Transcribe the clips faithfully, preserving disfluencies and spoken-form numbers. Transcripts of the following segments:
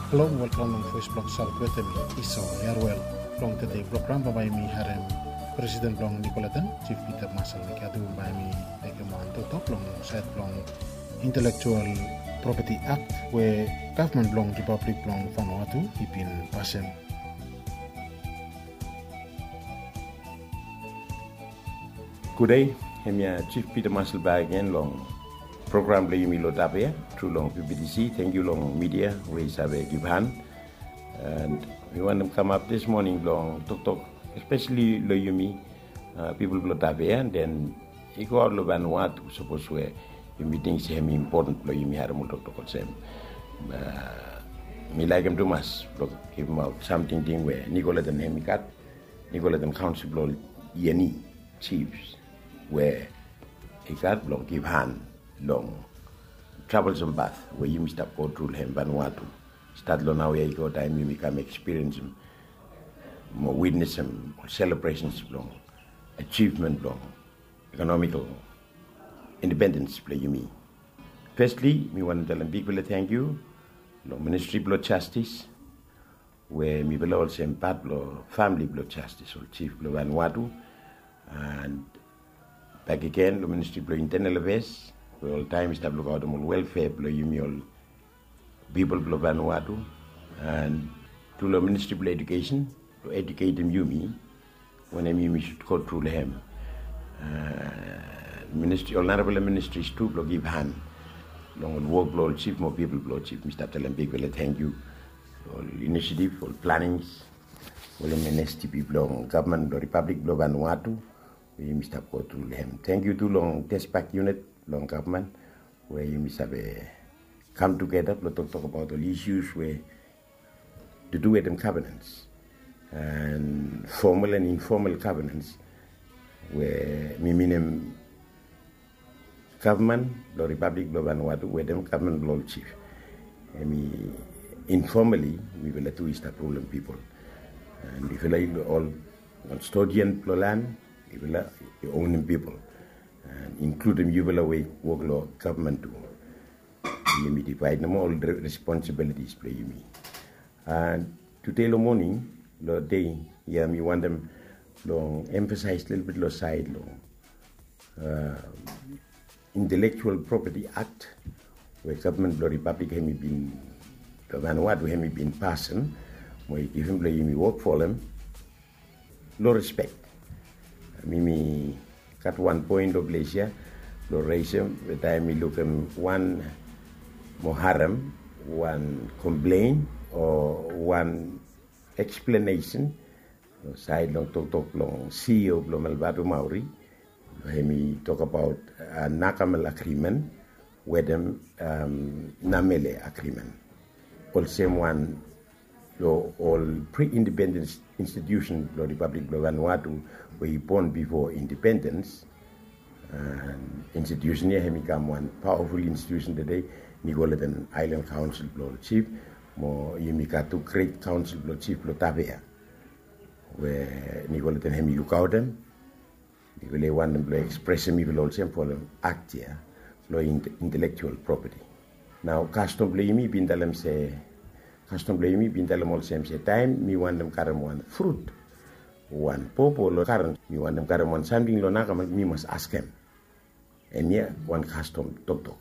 Halo, welkam long Voice blong South wetem mi, Esau Yarwel. Long tede program bae yumi harem Presiden blong Nicoleton, Chief Peter Marshall Mekiatu, bae yumi mekem wan toktok long saed blong Intellectual Property Act we gavman blong Ripablik blong Vanuatu i bin pasem. Gudei, hemia Chief Peter Marshall bakegen long program blong yumi lo Tapia tru long V B T C. Tangkiu long midia we i save givhan. And mi wantem kamap dis moning blong toktok espeseli lo yumi, uh, pipol blo Tapia, and then i go aot lo Vanuatu, sapos we yumi ting se hem i impoten blo yumi harem ol toktok olsem. Uh, mi laekem tumas blo givimaot sam tingting we Nicoleton hem i gat, Nicoleton Kaonsel blo ol Yeni Chiefs we i gat blong givhan long troublesome path we yumi stap go tru lo hem Vanuatu. Stat lo naoia i go taem yumi kam ekspiriensim mo witnesem ol selebresens blong ajivmen blong ekonomikol independens blo yumi. Fesli, mi wantem talem bigfala tangkiu long Ministri blo Jastis, we mifala olsem pat blo famili blo Jastis, ol Chief blo Vanuatu, and bakegen long Ministri blo Intenal Afeas, we oltaem i stap lukaotem ol welfea blo yumi ol pipol blo Vanuatu, and tu long Ministri blo Edukesen, blo eduketem yumi wanem yumi sud go tru lo hem. Uh, ministri, ol narafala ministris tu blo givhan long ol wok blo ol Chief mo pipol blo ol Chief. Mi stap talem bigfala tangkiu ol inisiativ, ol planings, ol M N S T P blong gavman blo Ripablik blo Vanuatu we yumi stap go tru lo hem. Tangkiu tu long TESPAC unit blong gavman we yumi save kam tugeta blo toktok abaot ol isus we tu du wetem governance, and formal and informal governance, we mi minim gavman blo Ripablik blo Vanuatu wetem gavman blo ol Chief. Hemi informali mifala tu i stap rulem pipol. And mifala i ol kastodian blo lan, mifala i onem pipol, and inkludim yufala we i wok lo gavman tu. Yumi divaed nomo ol re-, responsibilities blo yumi. And tede lo moning, lo dei ia, mi wantem long emfasaes lelebet lo saed long, uh, Intellectual Property Act we gavman blo Ripablik hemi bin, lo Vanuatu hemi bin pasem mo i givim blo yumi wok folem lo respek. Mi, mi gat wan poen lo ples ia blo resem, we taem mi lukim wan mo harem wan komplen o wan eksplenesen lo saed long toktok blong C E O blo Melvatu Maori, hemi tokbaot, uh, Nakamal Agreement wetem, um, Namele Agreement. Olsem wan lo ol pre-independence institusen blo Ripablik blo Vanuatu we i bon bifo independens. And institusen ia hemi kam wan pawaful institusen tede, Nicoleton Island Council blo ol Chief, mo yumi gat tu Great Council blo Chief blo Tapia we Nicoleton hemi lukaotem. Mifala i wantem blo ekspresem mifala olsem folem akt ia lo in-, intelektual propeti. Nao kastom blo yumi i bin talem se, kastom blo yumi i bin talem olsem se taem mi wantem karem wan frut, wan popo lo garen, mi wantem karem wan samting lo Nakamal, mi mas askem. Hemia wan kastom toktok,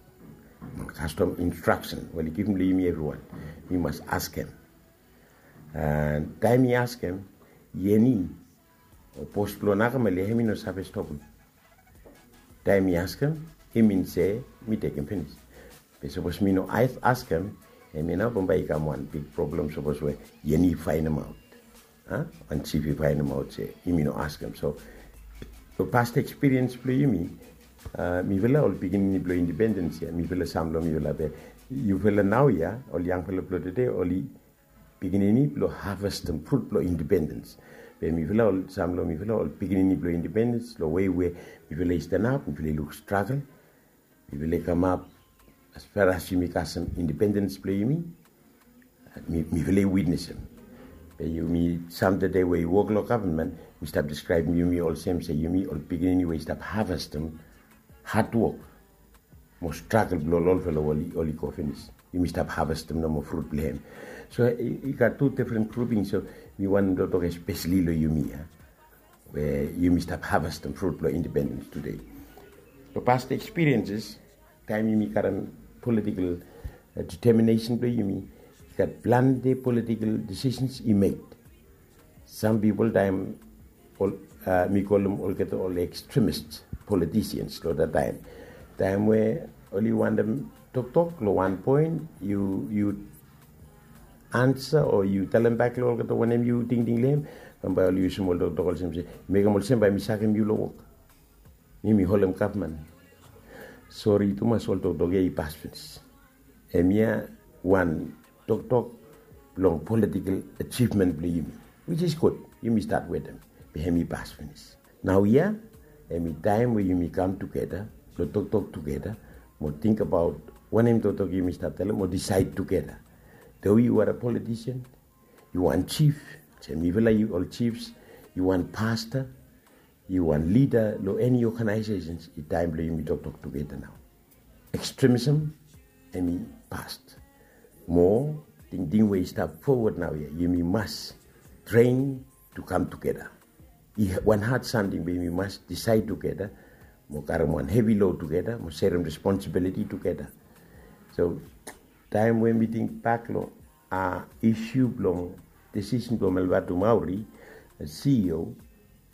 wan kastom instraksen we oli givim lo yumi evriwan. Mi mas askem. And taem mi askem, Yeni o bos blo Nakamal ia hemi no save stopem. Taem mi askem, i min se mi tekem finis. Be sapos mi no as-, askem, hemia nao bambae i kam wan big problem sapos we Yeni i faenemaot, a, wan Chif i faenemaot se yumi no askem. So lo past ekspiriens blo yumi, a, mifala ol pikinini blo independens ia, mifala sam lo mifala, be yufala naoia, ol yangfala blo tede, oli pikinini blo havestem frut blo independens. Be mifala ol, sam lo mifala ol pikinini blo independens, lo wei we mifala i stanap, mifala i luk stragel, mifala i kamap as far as yumi kasem independens blo yumi, mi, mifala i witnesem. Be yumi sam tede we i wok lo gavman, mi stap deskraebem yumi olsem se yumi ol pikinini we i stap havestem hadwok mo stragel blo ol olfala we oli, oli go finis. Yumi stap havestem nomo frut blong hem. So i gat tu difren gruping, so mi wantem toktok espeseli long yumi ya, we yumi stap havestem frut blong independens tude. Long past ekspirienses, taem yumi karem politikel deteminesen blong yumi, i gat plante politikel disisens i mek. Sam pipol taem mi kolem olgeta ol ekstremis politisians long dat taem, taem we oli wantem toktok long wan poen, yu ansa o yu talembak long olgeta wanem yu tingting long hem, bambae oli yusum ol toktok olsem se, mekem olsem bae mi sakem yu long wok. Mi mi holem gavman. Sori tumas, ol toktok ya i pas finis. Hemia wan toktok blong politikel ajivmen blong yumi, wis is gud. Yumi stat wetem, be hem i pas finis. Naoia hem i taem we yumi kam tugeta blong toktok tugeta, mo tingbaot wanem toktok yumi stap talem mo disaed tugeta. Do yu are a politisian, yu wan jif, se mifala yu ol jifs, yu wan pasta, yu wan lida long eni oganaesesens, i taem blong yumi toktok tugeta nao. Ekstremisem hem i past. Mo tingting we i stap fowod naoia, yumi mas tren tu kam tugeta. I wan had samting be yumi mas disaed tugeta, mo karem wan hevi lod tugeta, mo serem responsibiliti tugeta. So taem we mi tingbak long isu blong disisen blong Malvatumauri, CEO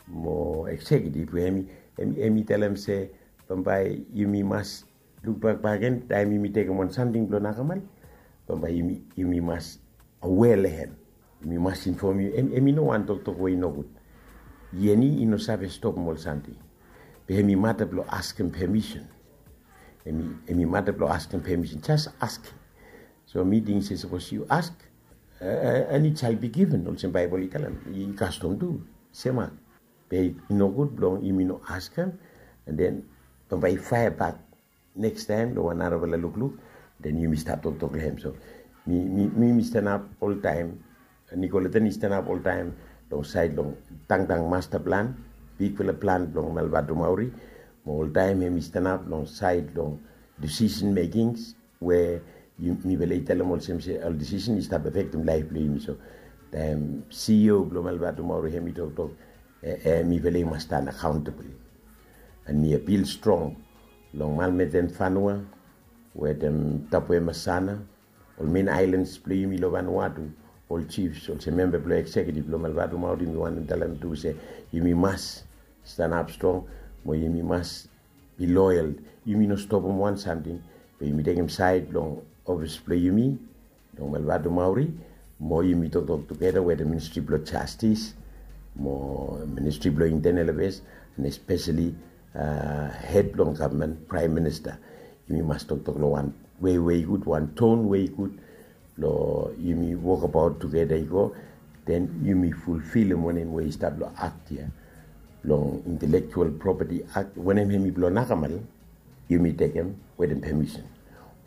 mo eksekiutiv we hem i talem se bambae yumi mas lukbak bakegen taem yumi tekem wan samting blong nakamal, bambae yumi mas awe long hem. Yumi mas infom yu, hem i no wan toktok we i nogud. Yeni i no save stopem ol samting. Be hem i mata blong askem pemisen. Hem i mata blong askem pemisen, jas askem. So mi ting se sapos yu ask, and it shall be given, olsem Baebol i talem, i kastom tu semak. Be i nogud blong yumi no askem, and then bambae i faea bak nekstaem long wan narafala lukluk, then yumi stap toktok long hem. So mi mi stanap oltaem, Nicoletta i stanap oltaem long saed long tangtang masta plan, bigfala plan blong Malvatumauri. Mo oltaem hem i stanap long saed long disisen mekings we mifala i talem olsem se ol disisen i stap afektem laef blong yumi. So taem CEO blong Malvatumauri hem i toktok, mifala i mas stan akaontabol. And mi apil strong long Malmeten Fanua wetem Tapuemasana, ol men aelans blong yumi long Vanuatu, ol jifs olsem memba blong eksekiutiv blong Malvatumauri, mi wantem talem tu se yumi mas stanap strong, mo yumi mas bi loyal. Yumi no stopem wan samting, be yumi tekem saed long ofis blong yumi long Malvatumauri, mo yumi toktok tugeta wetem Ministri blong Jastis mo Ministri blong Intenal Afeas, and espeseli hed blong gavman, Praem Minista. Yumi mas toktok long wan wei we i gud, wan ton we i gud, blong yumi wokabaot tugeta i go, then yumi fulfilem wanem we i stap long akt ya, long Intelektual Propeti Akt, wanem hem i blong nakamal, yumi tekem wetem pemisen.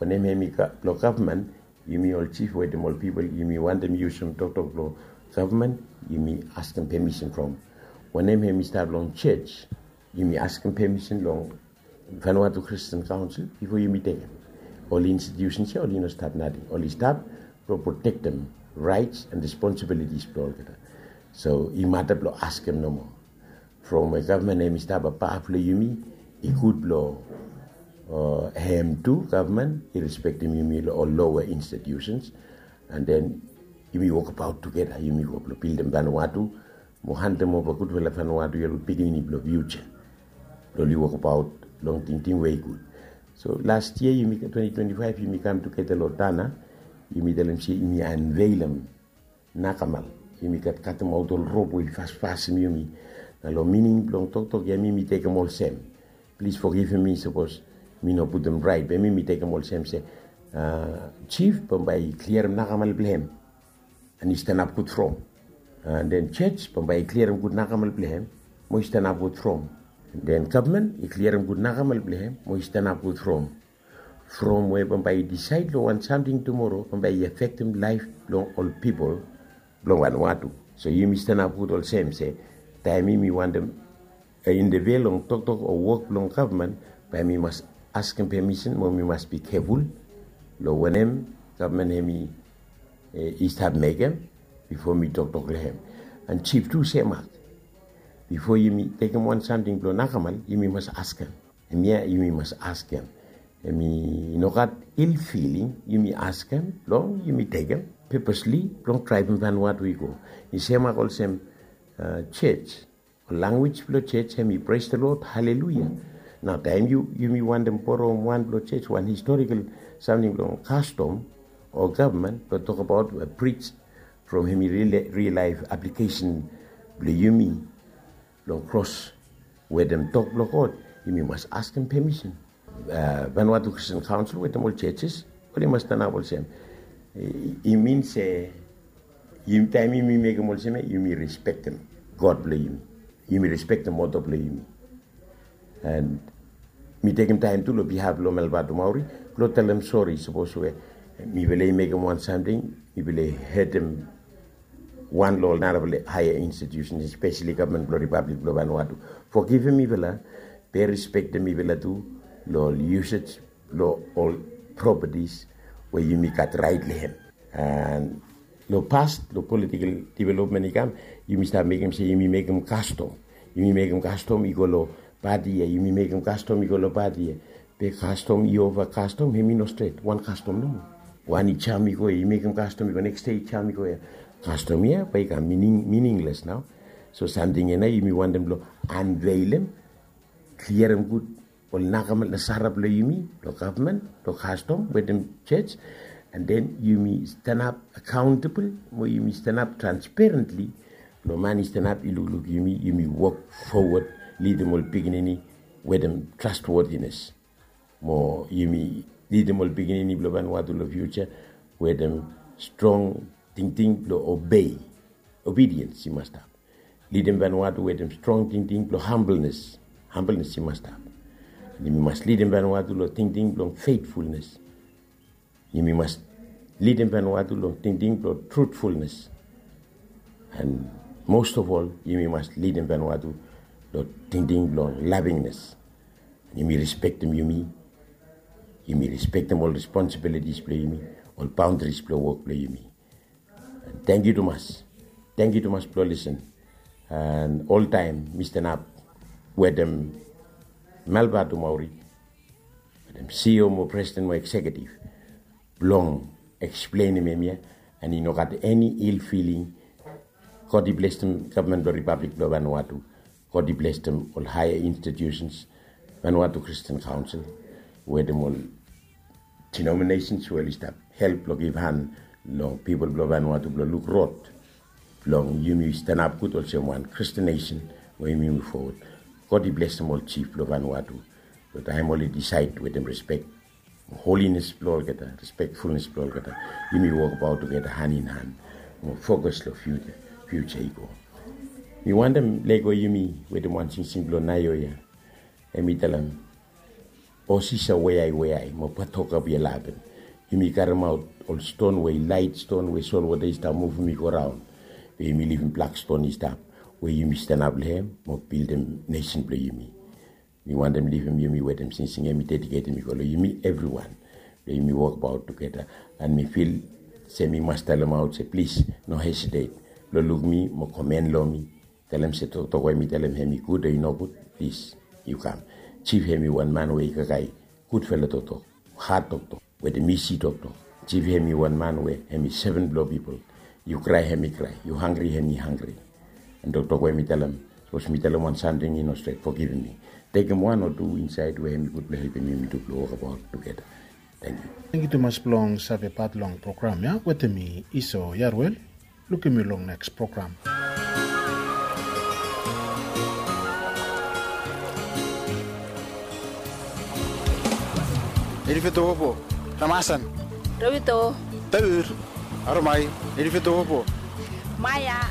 Wanem hem i blong gavman, yumi ol jif wetem ol pipol yumi wantem yusum toktok blong gavman, yumi askem pemisen from. Wanem hem i stap long jos, yumi askem pemisen long Vanuatu Christian Council bifo yumi tekem. Ol institusens ya oli no stap nating, oli stap blong protektem raets and responsibilitis blong olgeta. So i mata blong askem nomo. From we gavman hem i stap abaf long yumi, i gud blong hem tu gavman i respektem yumi long ol loa institusens. And then yumi wokabaot tugeta, yumi go blong bildim Vanuatu, mo handem ova gudfala Vanuatu ya long pikinini blong fiuja, blong oli wokabaot long tingting we i gud. So las yia yumi, twenti twenti faef, yumi kam tugeta long Tanna, yumi talem se yumi anveilem nakamal. Yumi gat katemaot ol rop we i fasfasem yumi. Na long mining blong toktok ya mi mi tekem olsem, plis fogivem mi sapos mi no putum raet, be mi mi tekem olsem se jif bambae i kliarem nakamal blong hem, and i stanap gud from. And then jos bambae i kliarem gud nakamal blong hem, mo i stanap gud from. And then gavman i kliarem gud nakamal blong hem, mo i stanap gud from. From we bambae i disaed long wan samting tumoro bambae i afektem laef blong ol pipol blong Vanuatu. So yumi stanap gud olsem se taem yumi wantem interview long toktok o wok blong gavman, bae mi mas askem pemisen mo mi mas bi keful long wanem Gavman hemi i stap mekem bifo mi toktok long hem. An jif tu semak, bifo yumi tekem wan samting blong nakamal, yumi mas askem. Hemia yumi mas askem. Hemi no gat il filing, yumi askem blong yumi tekem pepesli blong draivim Vanuatu i go. I semak olsem jej, ol lanwis blong jej hemi pres the Lord, haleluia. Nao taem yumi wantem borem wan blong jej, wan historikal samting blong kastom o gavman blong tokbaot a prij from hemi ril laef aplikesen blong yumi blong kros wetem tok blong God, yumi mas askem pemisen. Vanuatu Christian Council wetem ol jejes oli mas stanap olsem. I min se taem yumi mekem olsem ya, yumi respektem God blong yumi. Yumi respektem moto blong yumi. An mi tekem taem tu long bihaf blong Malvatumauri blong talem sori sapos we mifala i mekem wan samting, mifala i hetem wan long ol narafala haea institusen, espeseli gavman blong Ripablik blong Vanuatu. Fogivim mifala, be respektem mifala tu long ol yusej long ol propatis we yumi gat raet long hem. An long pas, long politikal developmen i kam, yumi stap mekem se yumi mekem kastom. Yumi mekem kastom i go long pati ya, yumi mekem kastom i go long pati ya. Be kastom i ova kastom, hemi no stret. Wan kastom nomo. Wan i jam i go ya, i mekem kastom i go, neks dei i jam i go ya. Kastom ya bae i kam miningles nao. So samting ya nao yumi wantem blong anveilem, kliarem gud ol nakamal nasara blong yumi long gavman, long kastom wetem jej. An den yumi stanap akaontabol mo yumi stanap transperentli blong man i stanap i lukluk yumi, yumi wok fowod, lidim ol pikinini wetem trastwotines. Mo yumi lidim ol pikinini blong Vanuatu long fiuja wetem strong tingting blong obei. Obediens i mas stap. Lidim Vanuatu wetem strong tingting blong hambolnes. Hambolnes i mas stap. An yumi mas lidim Vanuatu long tingting blong fetfulnes. Yumi mas lidim Vanuatu long tingting blong trutfulnes. An mos of ol, yumi mas lidim Vanuatu long tingting blong lavingnes. Yumi respektem yumi. Yumi respektem ol responsibilitis blong yumi, ol baondaris blong wok blong yumi. Tangkiu tumas. Tangkiu tumas blong lisen. An oltaem mi stanap wetem Malvatumauri, wetem CEO mo presiden mo eksekiutiv blong eksplenem hemia. An i no gat eni il filing. God i blesem gavman blong Ripablik blong Vanuatu. God i blesem ol haea institusens, Vanuatu Christian Council wetem ol denominations we oli stap help blong givhan long pipol blong Vanuatu blong luk rod blong yumi stanap gud olsem wan Christian nesen we yumi muv fowod. God i blesem ol jif blong Vanuatu blong taem oli disaed wetem respek, holines blong olgeta, respekfulnes blong olgeta, yumi wokbaot tugeta han in han mo fokas long fiuja i go. Mi wantem lego yumi wetem wan singsing blong naoia. Hemi talem, o sisa weai weai mo patoka bia laben. Yumi karemaot ol ston we i laet, ston we solwota i stap muvum i go raon. Be yumi livim blak ston i stap we yumi stanap long hem mo bildim nesen blong yumi. Mi wantem livim yumi wetem singsing ya, mi dediketem i go long yumi evriwan blong yumi wokbaot tugeta. An mi fil se mi mas talemaot se plis no hesitet blong luk mi mo komen long mi. Talem se toktok we mi talem hemi gud o i nogud, plis yu kam. Jif hemi wan man we i kakae gudfala toktok, had toktok wetem isi toktok. Jif hemi wan man we hemi seven blong pipol. Yu krae hemi krae, yu hanggri hemi hanggri. An toktok we mi talem, sapos mi talem wan samting i no stret, fogivim mi. Tekem wan o tu insaed we hemi gud blong helpem yumi tu blong wokbaot tugeta. Tangkiu. Tangkiu tumas blong save pat long program ya wetem mi, Iso Yaruel. Lukim yu long neks program. Erifetowopo, Ramasan. Rewito. Tawir. Aromai. Erifetowopo. Maya.